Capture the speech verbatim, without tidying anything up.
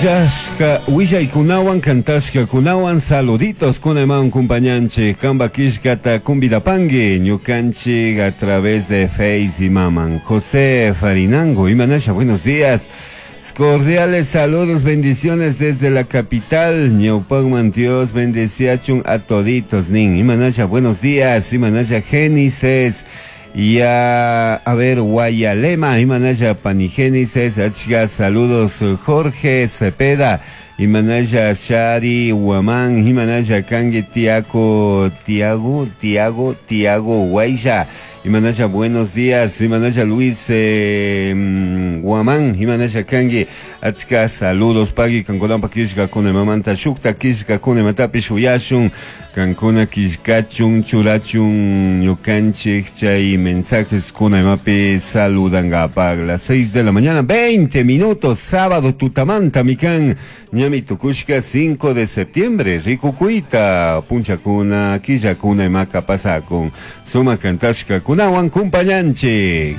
Willashka willaykunawan kantashkakunawan saluditos kunaman kumpañanchik kamba killkata kumbidapangi ñukanchik a través de Face y Maman. José Farinango, Imanasha, buenos días. Cordiales saludos, bendiciones desde la capital. Ñaupagman Dios bendeciachun a toditos nin. Imanasha, buenos días. Imanasha Génesis. Y a, a ver, Guayalema, Imanaya Panigénesis, Achga, saludos Jorge Cepeda, Imanaya Shari Huamán, Imanaya Kangue Tiago, Tiago, Tiago, Tiago Guaysha, Imanaya buenos días, Imanaya Luis eh, Guamán, Imanaya Kangue, Achka, saludos, Pagui, Kankolampa Kishka, Kunemamanta, Shukta Kishka, Kunematapish, Uyashun, Kankuna Kishkachun, Churachun, Ñukanchik, Chay, mensajes Kunemapi, saludan las seis de la mañana, veinte minutos, sábado, Tutamanta, Mikan, Ñami Tukushka, cinco de septiembre, Rikukuita, Punchakuna, Killakuna, Imaka, Pasakun, Suma Kantashka, Kunawan, Kumpañanchik.